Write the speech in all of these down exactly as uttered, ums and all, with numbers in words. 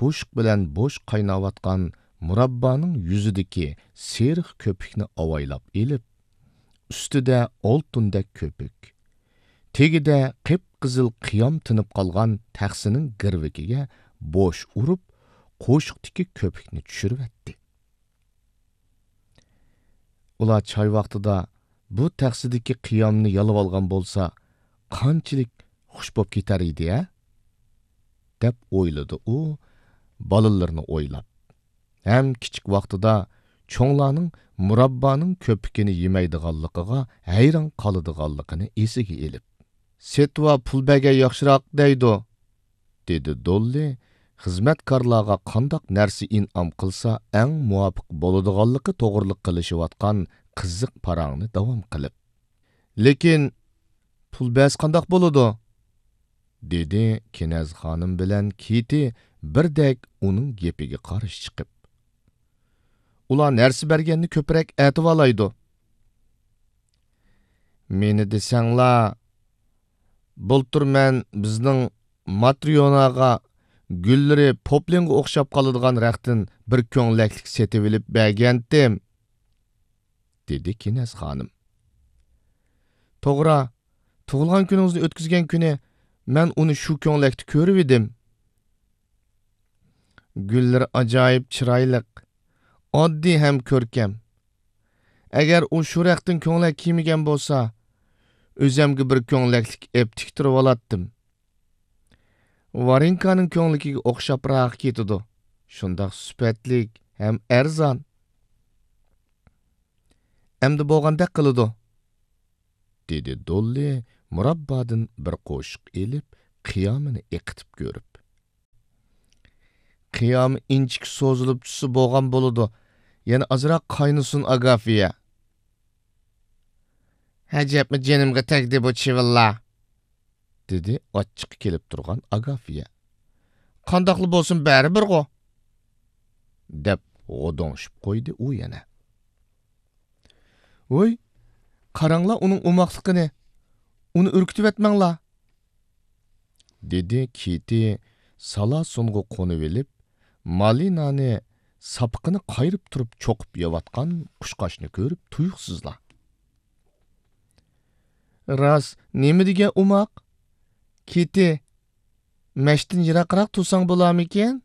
ئوشۇق بىلەن بوش قايناۋاتقان مۇراببانىڭ يۈزىدىكى سېرىق كۆپۈكنى ئاۋايلاپ ئېلىپ، ئۈستىدە ئالتۇندەك كۆپۈك، تېگىدە قىپقىزىل قىيام تىنىپ قالغان تەخسىنىڭ گىرۋىكىگە بوش ئۇرۇپ، قوشۇقتىكى كۆپۈكنى چۈشۈرۈۋەتتى. ئۇلار چاي ۋاقتىدا بۇ تەخسىدىكى قىيامنى يالىۋالغان بولسا، قانچىلىك خۇش بوپ كېتەر ئىدى-ھە؟ دەپ ئويلىدى ئۇ، بالىلىرىنى ئويلاپ. ھەم كىچىك ۋاقتىدا چوڭلارنىڭ مۇراببانىڭ كۆپۈكىنى يېمەيدىغانلىقىغا ھەيران قالىدىغانلىقىنى ئېسىگە ئېلىپ. «سېتىۋا پۇل بەرگەن ياخشىراق» دەيدۇ، دېدى دوللى خىزمەتكارلارغا قانداق نەرسە ئىنئام قىلسا ئەڭ مۇۋاپىق بولىدىغانلىقى توغرىلىق قىلىشىۋاتقان قىزىق پاراڭنى داۋام قىلىپ. «لېكىن پۇل بەرسە قانداق بولىدۇ؟» دېدى كېنەز خانىم بىلەن كىتى بىردەك ئۇنىڭ گېپىگە قارشى چىقىپ. «ئۇلار نەرسە بەرگەننى كۆپرەك ئەتىۋالايدۇ.» «مېنى دېسەڭلار، بۇلتۇر مەن بىزنىڭ ماترىيوناغا گۈللىرى پوپلىنغا ئوخشاپ قالىدىغان رەختتىن بىر كۆڭلەكلىك سېتىۋېلىپ بەرگەنتىم.» دېدى كېنەز خانىم. «توغرا، تۇغۇلغان كۈنىڭىزنى ئۆتكۈزگەن كۈنى مەن ئۇنى شۇ كۆڭلەكتە كۆرۈۋىدىم. گۈللىرى ئاجايىپ چىرايلىق، ئاددىي ھەم كۆركەم. ئەگەر ئۇ شۇ رەختتىن كۆڭلەك كىيمىگەن بولسا، ئۆزەمگە بىر كۆڭلەكلىك ئېپ تىكتۈرۈۋالاتتىم. ۋارېنكانىڭ كۆڭلىكىگە ئوخشاپراق كېتىدۇ. شۇنداق سۈپەتلىك ھەم ئەرزان.» «ئەمدى بولغاندەك قىلىدۇ.» دېدى دوللى مۇراببادىن بىر قوشۇق ئېلىپ، قىيامىنى ئېقىتىپ كۆرۈپ. «قىيامى ئىنچىكە سوزۇلۇپ چۈشسە بولغان بولىدۇ. يەنە ئازراق قاينىسۇن، ئاگافىيە.» «ھەجەپمۇ جېنىمغا تەگدى بۇ چىۋىنلار؟» دېدى ئاچچىقى كېلىپ تۇرغان ئاگافىيە. «قانداقلا بولسۇن، بەرىبىرغۇ.» دەپ غودۇڭشىپ قويدى ئۇ يەنە. «ۋوي، قاراڭلار ئۇنىڭ ئوماقلىقىنى، ئۇنى ئۈركۈتۈۋەتمەڭلار.» دېدى كىتى سالاسۇنغا قونۇۋېلىپ، مالىنانى ساپىقىنى قايرىپ تۇرۇپ چوقۇپ يەۋاتقان قۇشقاچنى كۆرۈپ تۇيۇقسىزلا. «راست، نېمە دېگەن ئوماق! كىتى، مەشتىن يىراقراق تۇرساڭ بولارمىكىن؟»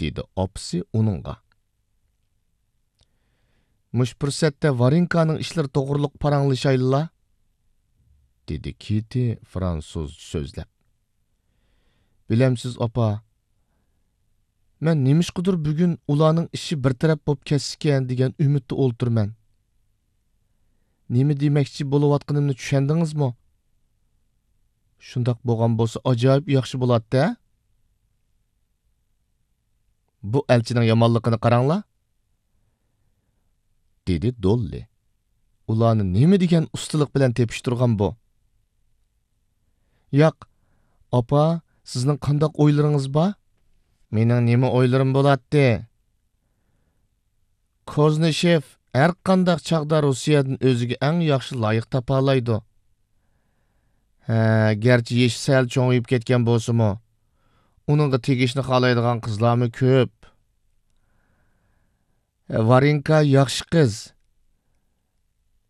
دېدى ئاپىسى ئۇنىڭغا. «مۇشۇ پۇرسەتتە ۋارېنكانىڭ ئىشلىرى توغرۇلۇق پاراڭلىشايلىلا»، دېدى كىتى فرانسۇزچە سۆزلەپ. «بىلەمسىز، ئاپا، مەن نېمىشقىدۇر بۈگۈن ئۇلارنىڭ ئىشى بىر تەرەپ بولۇپ كەتسىكەن دېگەن ئۈمىدتە ئولتۇرىمەن. نېمە دېمەكچى بولۇۋاتقىنىمنى چۈشەندىڭىزمۇ؟ شۇنداق بولغان بولسا ئاجايىپ ياخشى بولاتتى-ھە؟ بۇ ئەلچىنىڭ يامانلىقىنى قاراڭلار.» دېدى دوللى. «ئۇلارنى نېمە دېگەن ئۇستىلىق بىلەن تېپىشتۇرغان بۇ!» «ياق، ئاپا، سىزنىڭ قانداق ئويلىرىڭىز بار؟» «مېنىڭ نېمە ئويلىرىم بولاتتى؟ كوزنىشېف ھەرقانداق چاغدا روسىيەدىن ئۆزىگە ئەڭ ياخشى لايىق تاپالايدۇ. ھە، گەرچە يېشى سەل چوڭىيىپ كەتكەن بولسىمۇ، ئۇنىڭغا تېگىشنى خالايدىغان قىزلارمۇ كۆپ. ۋارېنكا ياخشى قىز.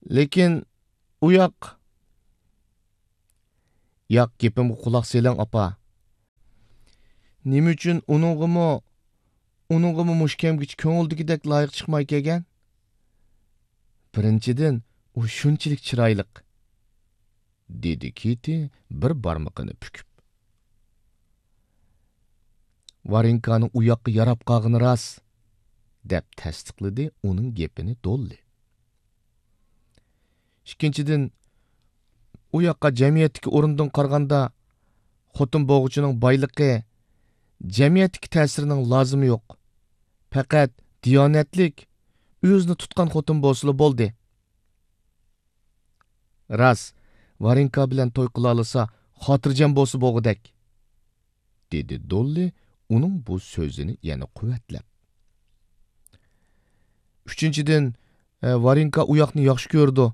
لېكىن ئۇ ياق.» «ياق، گېپىمگە قۇلاق سېلىڭ، ئاپا. نېمە ئۈچۈن ئۇنىڭغىمۇ، ئۇنىڭغىمۇ مۇشۇ كەمگىچە كۆڭۈلدىكىدەك لايىق چىقماي كەلگەن؟ بىرىنچىدىن، ئۇ شۇنچىلىك چىرايلىق.» دېدى كىتى بىر بارمىقىنى پۈكۈپ. «ۋارېنكانىڭ ئۇ ياققا ياراپ قالغىنى راست»، دەپ تەستىقلىدى ئۇنىڭ گېپىنى دوللى. «ئىككىنچىدىن، ئۇ ياققا جەمئىيەتتىكى ئورۇندىن قارىغاندا، خوتۇن بوغۇچىنىڭ بايلىقى، جەمئىيەتتىكى تەسىرىنىڭ لازىمى يوق. پەقەت دىيانەتلىك، ئۆزىنى تۇتقان خوتۇن بولسىلا بولدى. راست، ۋارېنكا بىلەن توي قىلالىسا، خاتىرجەم بولسا بولغۇدەك»، دېدى دوللى ئۇنىڭ بۇ سۆزىنى يەنە قۇۋۋەتلەپ. «ئۈچىنچىدىن، ئە، ۋارېنكا ئۇ ياقنى ياخشى كۆرىدۇ.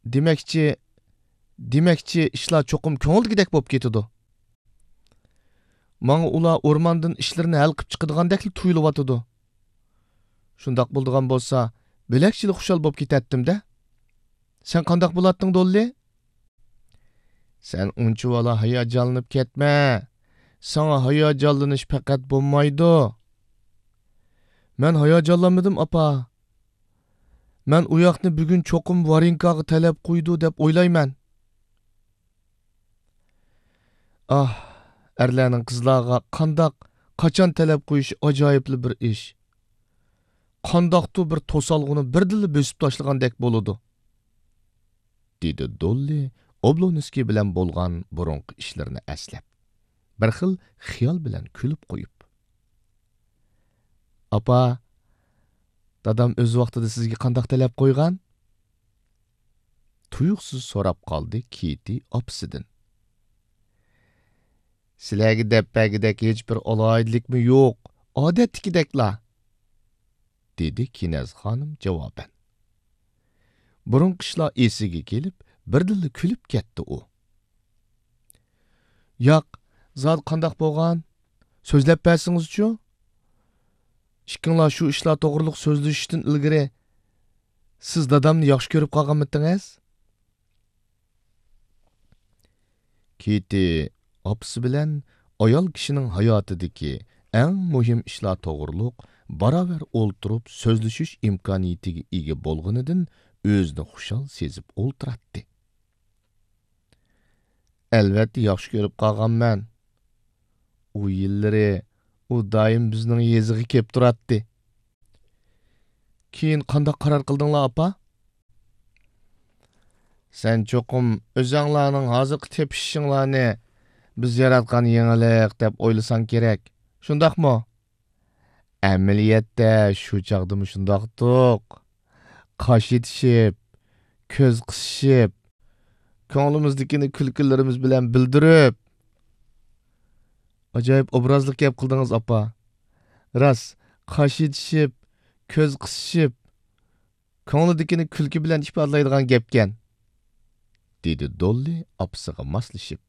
دېمەكچى، دېمەكچى، ئىشلار چوقۇم كۆڭۈلدىكىدەك بولۇپ كېتىدۇ.» ماڭا ئۇلار ئورماندىن ئىشلىرىنى ھەل قىپ چىقىدىغاندەكلا تۇيۇلۇۋاتىدۇ. شۇنداق بولىدىغان بولسا، بۆلەكچىلا خۇشال بوپ كېتەتتىم-دە. سەن قانداق بولاتتىڭ، دوللى؟ سەن ئۇنچىۋالا ھاياجانلىنىپ كەتمە. ساڭا ھاياجانلىنىش پەقەت بولمايدۇ. مەن ھاياجانلانمىدىم، ئاپا. مەن ئۇ ياقنى بۈگۈن چوقۇم ۋارېنكاغا تەلەپ قويىدۇ دەپ ئويلايمەن. ئاھ، ئەرلەرنىڭ قىزلارغا قانداق، قاچان تەلەپ قويۇشى ئاجايىپلا بىر ئىش. قانداقتۇر بىر توسالغۇنى بىردىنلا بۆسۈپ تاشلىغاندەك بولىدۇ. دېدى دوللى ئوبلونسكىي بىلەن بولغان بۇرۇنقى ئىشلىرىنى ئەسلەپ، بىر خىل خىيال بىلەن كۈلۈپ قويۇپ. ئاپا، دادام ئۆز ۋاقتىدا سىزگە قانداق تەلەپ قويغان؟ تۇيۇقسىز سوراپ قالدى كىتى ئاپىسىدىن. سىلەرگە دەپ بەرگۈدەك ھېچبىر ئالاھىدىلىكمۇ يوق، ئادەتتىكىدەكلا. دېدى كىنەز خانىم جاۋابەن. بۇرۇنقى ئىشلار ئېسىگە كېلىپ، بىردىنلا كۈلۈپ كەتتى ئۇ. ياق، زادى قانداق بولغان؟ سۆزلەپ بەرسىڭىزچۇ؟ ئىككىڭلار شۇ ئىشلار توغرۇلۇق سۆزلىشىشتىن ئىلگىرى، سىز دادامنى ياخشى كۆرۈپ قالغانمىتىڭىز؟ كىتى ئاپىسى بىلەن ئايال كىشىنىڭ ھاياتىدىكى ئەڭ مۇھىم ئىشلار توغرۇلۇق باراۋەر ئولتۇرۇپ سۆزلىشىش ئىمكانىيىتىگە ئىگە بولغىنىدىن ئۆزىنى خۇشال سېزىپ ئولتۇراتتى. ئەلۋەتتە ياخشى كۆرۈپ قالغانمەن. ئۇ يىللىرى ئۇ دائىم بىزنىڭ يېزىغا كېلىپ تۇراتتى. كېيىن قانداق قارار قىلدىڭلار، ئاپا؟ سەن چوقۇم ئۆزەڭلارنىڭ ھازىرقى تېپىشىشىڭلارنى بىز ياراتقان يېڭىلىق دەپ ئويلىساڭ كېرەك. شۇنداقمۇ؟ ئەمەلىيەتتە شۇ چاغدىمۇ شۇنداقتۇق. قاش ئېتىشىپ، كۆز قىسىشىپ، كۆڭلىمىزدىكىنى كۈلكىلىرىمىز بىلەن بىلدۈرۈپ. ئاجايىپ ئوبرازلىق گەپ قىلدىڭىز، ئاپا. راست، قاش ئېتىشىپ، كۆز قىسىشىپ، كۆڭلىدىكىنى كۈلكە بىلەن ئىپادىلەيدىغان گەپكەن، دېدى دوللى ئاپىسىغا ماسلىشىپ.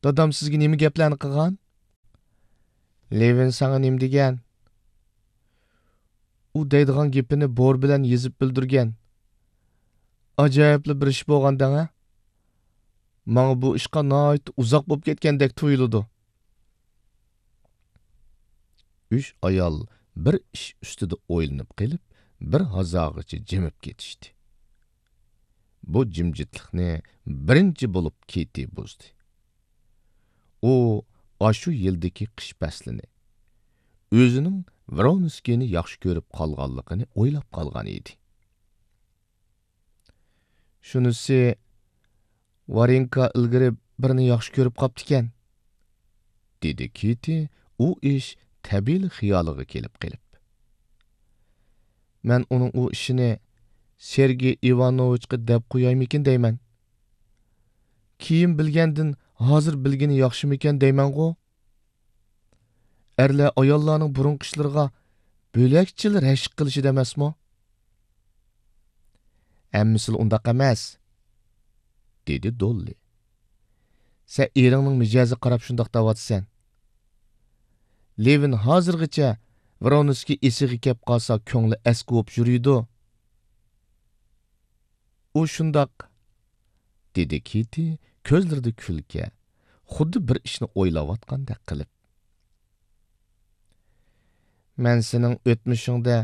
دادام سىزگە نېمە گەپلەرنى قىلغان؟ لېۋىن ساڭا نېمە دېگەن؟ ئۇ دەيدىغان گېپىنى بور بىلەن يېزىپ بىلدۈرگەن. ئاجايىپلا بىر ئىش بولغان دەڭە. ماڭا بۇ ئىشقا ناھايىتى ئۇزاق بولۇپ كەتكەندەك تۇيۇلىدۇ. ئۈچ ئايال بىر ئىش ئۈستىدە ئويلىنىپ قېلىپ، بىر ھازاغىچە جىمىپ كېتىشتى. بۇ جىمجىتلىقنى بىرىنچى بولۇپ كىتى بۇزدى. ئۇ ئاشۇ يىلدىكى قىش پەسلىنى، ئۆزىنىڭ ۋرونسكىينى ياخشى كۆرۈپ قالغانلىقىنى ئويلاپ قالغان ئىدى. شۇنىسى، ۋارېنكا ئىلگىرى بىرنى ياخشى كۆرۈپ قاپتىكەن، دېدى كىتى ئۇ ئىش تەبىئىيلا خىيالىغا كېلىپ قېلىپ. مەن ئۇنىڭ ئۇ ئىشىنى سېرگېي ئىۋانوۋىچقا دەپ قويايمىكىن دەيمەن. كېيىن بىلگەندىن ھازىر بىلگىنى ياخشىمىكەن دەيمەنغۇ؟ ئەرلەر ئاياللارنىڭ بۇرۇنقى ئىشلىرىغا بۆلەكچىلا رەشك قىلىشىدۇ ئەمەسمۇ؟ ھەممىسىلا ئۇنداق ئەمەس، دېدى دوللى. سەن ئېرىڭنىڭ مىجەزىگە قاراپ شۇنداق دەۋاتىسەن. لېۋىن ھازىرغىچە ۋرونسكىي ئېسىگە كەپ قالسا كۆڭلى ئەسكى بولۇپ يۈرىدۇ. ئۇ شۇنداق، دېدى كىتى كۆزلىرىدە كۈلكە، خۇددى بىر ئىشنى ئويلاۋاتقاندەك قىلىپ. مەن سېنىڭ ئۆتمۈشۈڭدە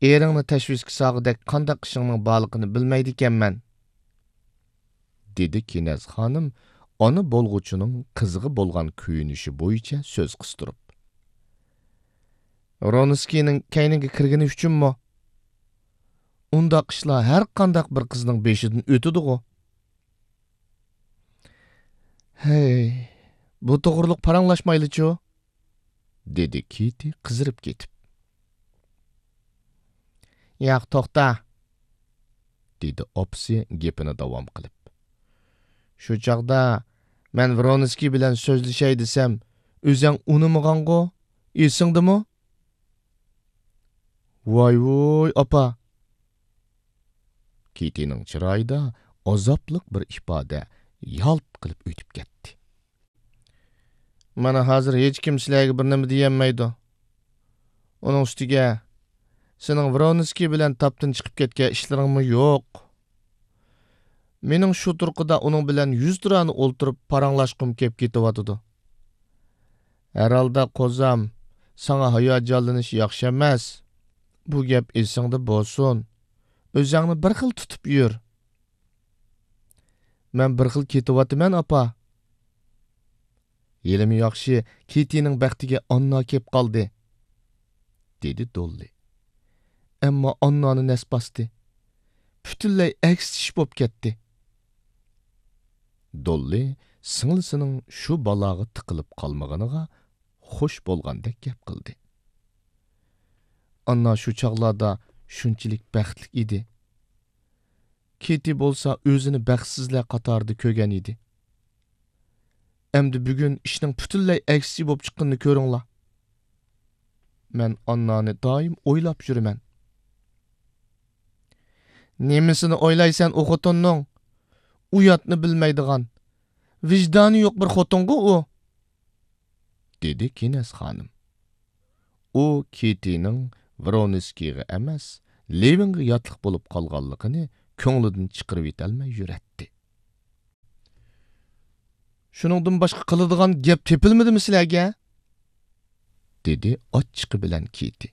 ئېرىڭنى تەشۋىشكە سالغۇدەك قانداق ئىشىڭنىڭ بارلىقىنى بىلمەيدىكەنمەن، دېدى كىنەز خانىم ئانا بولغۇچىنىڭ قىزىغا بولغان كۆيۈنۈشى بويىچە سۆز قىستۇرۇپ. ۋرونسكىينىڭ كەينىڭگە كىرگىنى ئۈچۈنمۇ؟ ئۇنداق ئىشلار ھەر قانداق بىر قىزنىڭ بېشىدىن ئۆتىدىغۇ. ھەي، بۇ توغرۇلۇق پاراڭلاشمايلىچۇ؟ دېدى كىتى قىزىرىپ كېتىپ. ياق، توختا، دېدى ئاپىسى گېپىنى داۋام قىلىپ. شۇ چاغدا مەن ۋرونسكىي بىلەن سۆزلىشەي دېسەم، ئۆزەڭ ئۇنىمىغانغۇ، ئېسىڭدىمۇ؟ ۋاي ۋۇي، ئاپا! كىتىنىڭ چىرايىدا ئازابلىق بىر ئىپادە يالت قىلىپ ئۆتۈپ كەتتى. مانا ھازىر ھېچكىم سىلەرگە بىر نېمە دېيەلمەيدۇ. ئۇنىڭ ئۈستىگە، سېنىڭ ۋرونسكىي بىلەن تاپتىن چىقىپ كەتكەن ئىشلىرىڭمۇ يوق. مېنىڭ شۇ تۇرقىدا ئۇنىڭ بىلەن يۈزتۇرانە ئولتۇرۇپ پاراڭلاشقۇم كېلىپ كېتىۋاتىدۇ. ھەرھالدا، قوزام، ساڭا ھاياجانلىنىش ياخشى ئەمەس. بۇ گەپ ئېسىڭدە بولسۇن. ئۆزۈڭنى بىر خىل تۇتۇپ يۈر. مەن بىر خىل كېتىۋاتىمەن، ئاپا. ھېلىمۇ ياخشى، كېتىنىڭ بەختىگە ئاننا كېلىپ قالدى، دېدى دوللى. ئەمما ئاننانى نەس باستى. پۈتۈنلەي ئەكسىچە ئىش بولۇپ كەتتى. دوللى سىڭلىسىنىڭ شۇ بالاغا تىقىلىپ قالمىغىنىغا خوش بولغاندەك گەپ قىلدى. ئاننا شۇ چاغلاردا شۇنچىلىك بەختلىك ئىدى. كېتى بولسا ئۆزىنى بەختسىزلەر قاتارىدا كۆرگەن ئىدى. ئەمدى بۈگۈن ئىشنىڭ پۈتۈنلەي ئەكسىچە بولۇپ چىققىنىنى كۆرۈڭلار. مەن ئاننانى دائىم ئويلاپ يۈرىمەن. نېمىسىنى ئويلايسەن ئۇ خوتۇننىڭ؟ ئۇياتنى بىلمەيدىغان، ۋىجدانى يوق بىر خوتۇنغۇ ئۇ. دېدى كىنەز خانىم. ئۇ كېتىنىڭ ۋرونسكىيغا ئەمەس، لېۋىنغا ياتلىق بولۇپ قالغانلىقىنى كۆڭلىدىن چىقىرىۋېتەلمەي يۈرەتتى. شۇنىڭدىن باشقا قىلىدىغان گەپ تېپىلمىدىمۇ سىلەرگە؟ دېدى ئاچچىقى بىلەن كېتى.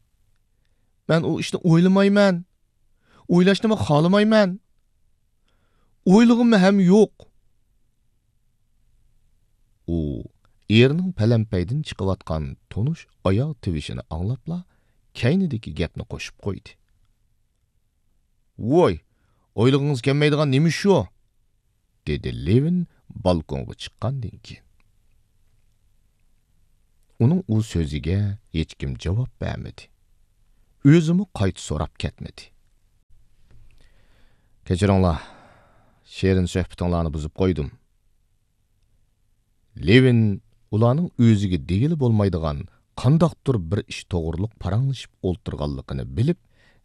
مەن ئۇ ئىشنى ئويلىمايمەن. ئويلاشنىمۇ خالىمايمەن. ئويلىغۇممۇ ھەم يوق. ئۇ ئېرىنىڭ پەلەمپەيدىن چىقىۋاتقان تونۇش ئاياغ تىۋىشىنى ئاڭلاپلا، كەينىدىكى گەپنى قوشۇپ قويدى. ۋوي، ئويلىغۇڭىز كەلمەيدىغان نېمە ئىش شۇ؟ دېدى لېۋىن بالكونغا چىققاندىن كېيىن. ئۇنىڭ ئۇ سۆزىگە ھېچكىم جاۋاب بەرمىدى. ئۆزىمۇ قايتا سوراپ كەتمىدى. كەچۈرۈڭلار، شېرىن سۆھبىتىڭلارنى بۇزۇپ قويدۇم. لېۋىن ئۇلارنىڭ ئۆزىگە دېگىلى بولمايدىغان قانداقتۇر بىر ئىش توغرۇلۇق پاراڭلىشىپ ئولتۇرغانلىقىنى بىلىپ،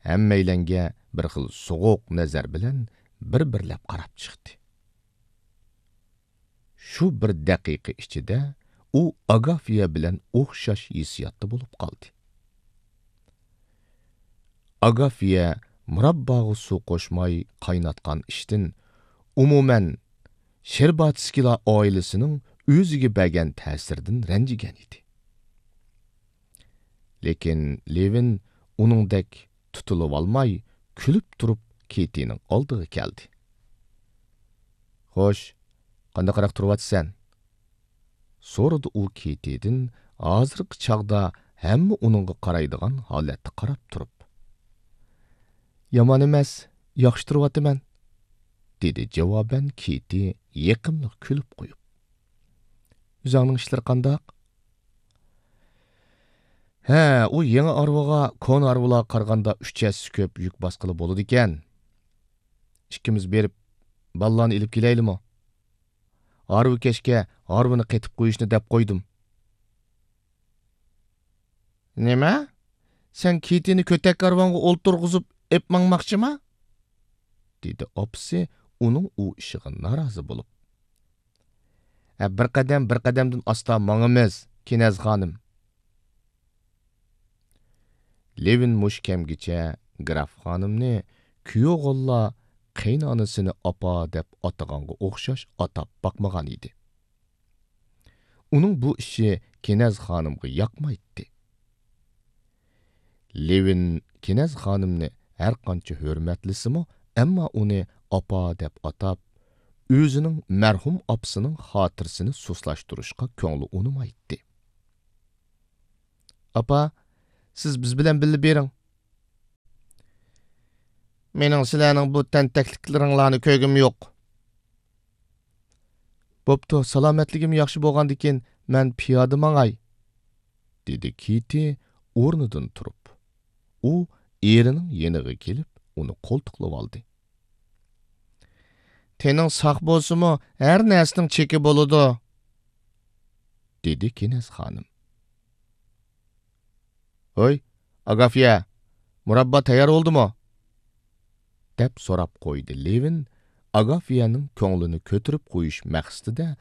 ھەممەيلەنگە بىر خىل سوغۇق نەزەر بىلەن بىر-بىرلەپ قاراپ چىقتى. شۇ بىر دەقىقە ئىچىدە ئۇ ئاگافىيە بىلەن ئوخشاش ھېسسىياتتا بولۇپ قالدى. ئاگافىيە مۇرابباغا سۇ قوشماي قايناتقان ئىشتىن، ئومۇمەن، شېرباتسكىلار ئائىلىسىنىڭ ئۆزىگە بەرگەن تەسىرىدىن رەنجىگەن ئىدى. لېكىن لېۋىن ئۇنىڭدەك تۇتۇلۇۋالماي، كۈلۈپ تۇرۇپ كېتىنىڭ ئالدىغا كەلدى. خوش، قانداقراق تۇرۇۋاتىسەن؟ سورىدى ئۇ كېتىدىن ھازىرقى چاغدا ھەممە ئۇنىڭغا قارايدىغان ھالەتتە قاراپ تۇرۇپ. يامان ئەمەس، ياخشى تۇرۇۋاتىمەن، دېدى جاۋابەن كېتى يېقىملىق كۈلۈپ قويۇپ. ئۆزۈڭنىڭ ئىشلىرى قانداق؟ ھە، ئۇ يېڭى ھارۋىغا كونا ھارۋىلارغا قارىغاندا ئۈچ ھەسسە كۆپ يۈك باسقىلى بولىدىكەن. ئىككىمىز بېرىپ، بالىلارنى ئېلىپ كېلەيلىمۇ؟ ھارۋىكەشكە ھارۋىنى قېتىپ قويۇشنى دەپ قويدۇم. نېمە؟ سەن كېتىنى كۆتەك ھارۋاڭغا ئولتۇرغۇزۇپ ئېپ ماڭماقچىما؟ دېدى ئاپىسى ئۇنىڭ ئۇ ئىشىغا نارازى بولۇپ. ھە، بىر قەدەم، بىر قەدەمدىن ئاستا ماڭىمىز، كىنەز خانىم. لېۋىن مۇشۇ كەمگىچە گراف خانىمنى كۈيئوغۇللار قېيىنئانىسىنى ئاپا دەپ ئاتىغانغا ئوخشاش ئاتاپ باقمىغان ئىدى. ئۇنىڭ بۇ ئىشى كىنەز خانىمغا ياقمايتتى. لېۋىن كىنەز خانىمنى ھەرقانچە ھۆرمەتلىسىمۇ، ئەمما ئۇنى ئاپا دەپ ئاتاپ، ئۆزىنىڭ مەرھۇم ئاپىسىنىڭ خاتىرىسىنى سۇسلاشتۇرۇشقا كۆڭلى ئۇنىمايتتى. ئاپا، سىز بىز بىلەن بىللە بېرىڭ. مېنىڭ سىلەرنىڭ بۇ تەنتەكلىكلىرىڭلارنى كۆرگۈم يوق. بوپتۇ، سالامەتلىكىم ياخشى بولغاندىكىن مەن پىيادە ماڭاي، دېدى كېتى ئورنىدىن تۇرۇپ. ئۇ ئېرىنىڭ يېنىغا كېلىپ، ئۇنى قولتۇقلىۋالدى. تېنىڭ ساق بولسىمۇ، ھەر نەرسىنىڭ چېكى بولىدۇ، دېدى كىنەز خانىم. ھوي، ئاگافيە، مۇراببا تەييار بولدىمۇ؟ دەپ سوراپ قويدى لېۋىن، ئاگافيەنىڭ كۆڭلىنى كۆتۈرۈپ قويۇش مەقسىتىدە